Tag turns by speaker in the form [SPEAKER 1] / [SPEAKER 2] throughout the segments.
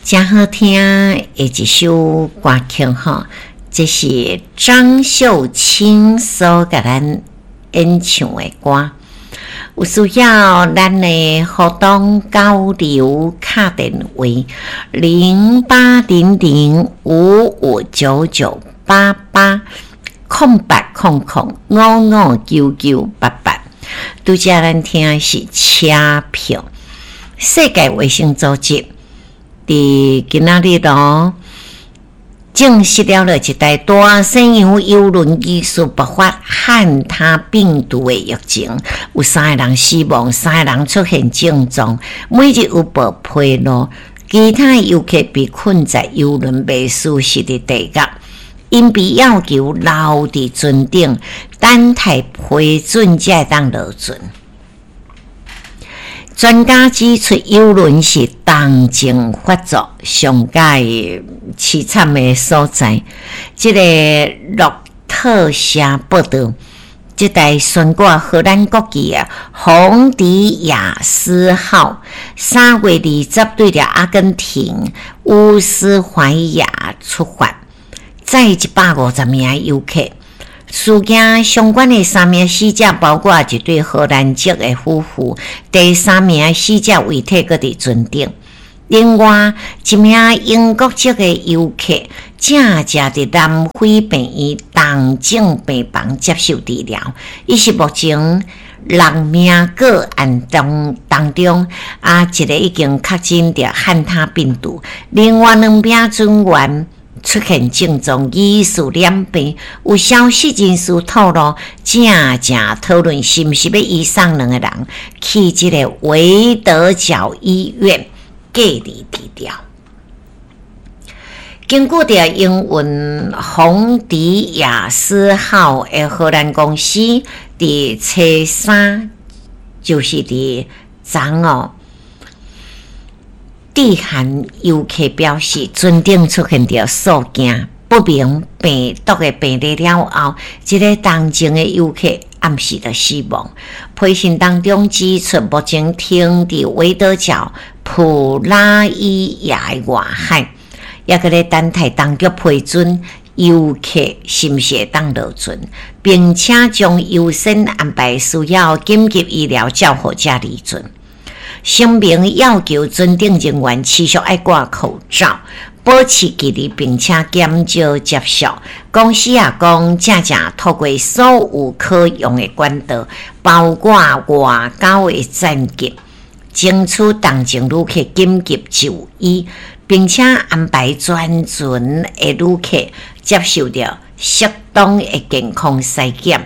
[SPEAKER 1] 誠好聽的一首歌曲吼，這是張秀卿所共咱演唱的歌。有需要咱的互動交流，敲電話08005599880800559988。拄才咱聽的是車票。世界衛生組織佇今仔日咯，證實了一台大西洋郵輪疑似爆發漢他病毒的疫情，有三个人死亡，三個人出現症狀，每日有報披露，其他遊客被困在郵輪袂舒適的地獄，𪜶被要求留佇船頂，等待批准才會當落船。專家指出，郵輪是重症發作上蓋悽慘的所在。這个路透社報導，這台懸掛荷蘭國旗的洪迪亞斯號，3月20對著阿根廷烏斯懷亞出發，載150名遊客。事件相關的三名死者，包括一對荷蘭籍的夫婦，第三名死者遺體閣佇船頂。另外一名英國籍的遊客，正正佇南非病院重症病房接受治療。伊是目前六名個案當中，一个已經確診著漢他病毒，另外兩名船員出現症狀，疑似染病。有消息人士透露，正正討論是毋是欲移送兩个人去這个維德角醫院隔離治療。根據著營運洪迪亞斯號的荷蘭公司，佇初三，就是佇昨哦，致函遊客表示，船頂出現著數件不明病毒的病例了後，這个重症的遊客暗時就死亡。批信當中指出，目前停佇維多角普拉伊亞的外海，猶閣咧等待當局批准遊客是毋是會當落船，並且將優先安排需要緊急醫療照護者離船。聲明要求船頂人員持續愛掛口罩、保持距離，並且減少接觸。公司也講，正正透過所有可用的管道，包括外交的戰機，爭取重症旅客緊急就醫，並且安排全船的旅客接受著適當的健康篩檢。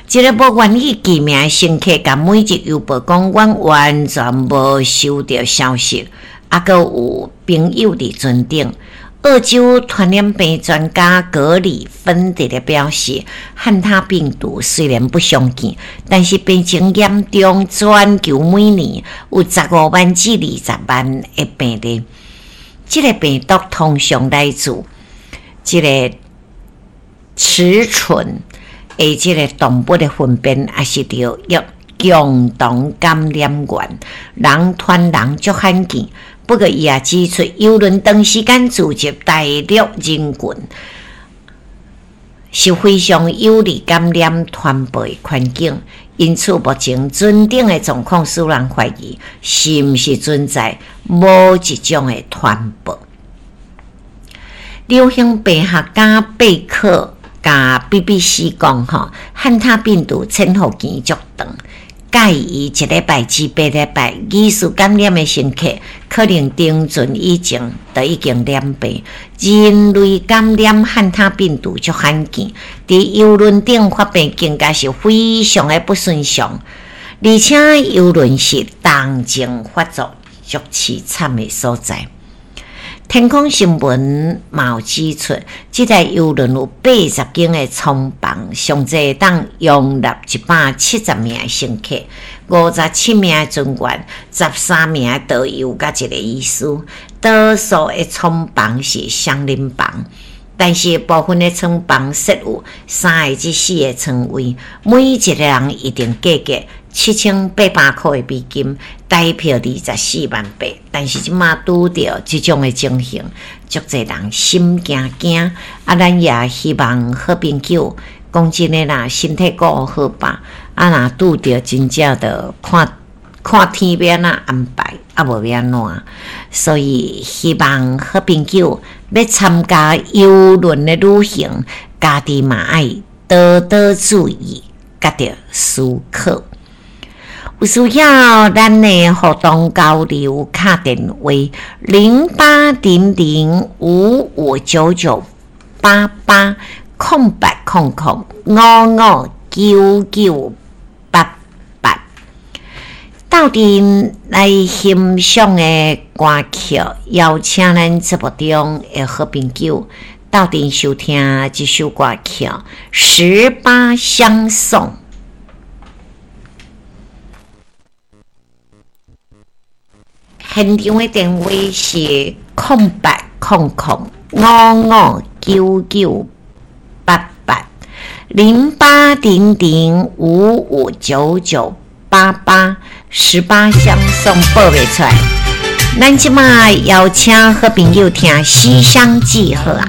[SPEAKER 1] 這个無願意記名的乘客，共每日郵報講，阮完全無收著消息，猶閣有朋友佇船頂。澳洲傳染病專家格里芬佇咧表示，漢他病毒雖然不常見，但是病情嚴重，全球每年有15萬至20萬的病例。這个病毒通常來自這个雌豚的這个動物的糞便，抑是著欲共同感染源，人傳人足罕見。不過，伊也指出，郵輪長時間聚集大量人群，是非常有利感染傳播的環境。因此，目前船頂的狀況使人懷疑，是毋是存在某一種的傳播。流行病學家貝克共 BBC 講吼，漢他病毒潛伏期足長，介於一禮拜至8禮拜，疑似感染的乘客可能登船以前就已經染病。人類感染漢他病毒足罕見，佇郵輪頂發病更加是非常的不尋常，而且郵輪是重症發作足悽慘的所在。天空新聞嘛有指出，這台郵輪有80間的艙房，上濟會當容納170名的乘客，57名的船員，13名的導遊佮一个醫師。多數的艙房是雙人房，但是部分的艙房設有三个至四個床位，每一个人一定間隔7800箍的美金，台票24.8万。但是這馬拄著這種的情形，足濟人心驚驚。啊，咱也希望好朋友講真的啦，身體顧好吧。啊，若拄著真正著看看天欲按怎安排，啊無欲按怎。所以希望好朋友欲參加郵輪的旅行，家己嘛愛多多注意，佮著思考。有需要咱的活動交流，敲電話0800559988 0800559988，鬥陣來欣賞的歌曲，邀請咱節目中的好朋友鬥陣收聽這首歌曲《十八相送》。現場的電話是08005599880800559988，十八相送報袂出來。咱這馬邀請好朋友聽《西廂記》好啊。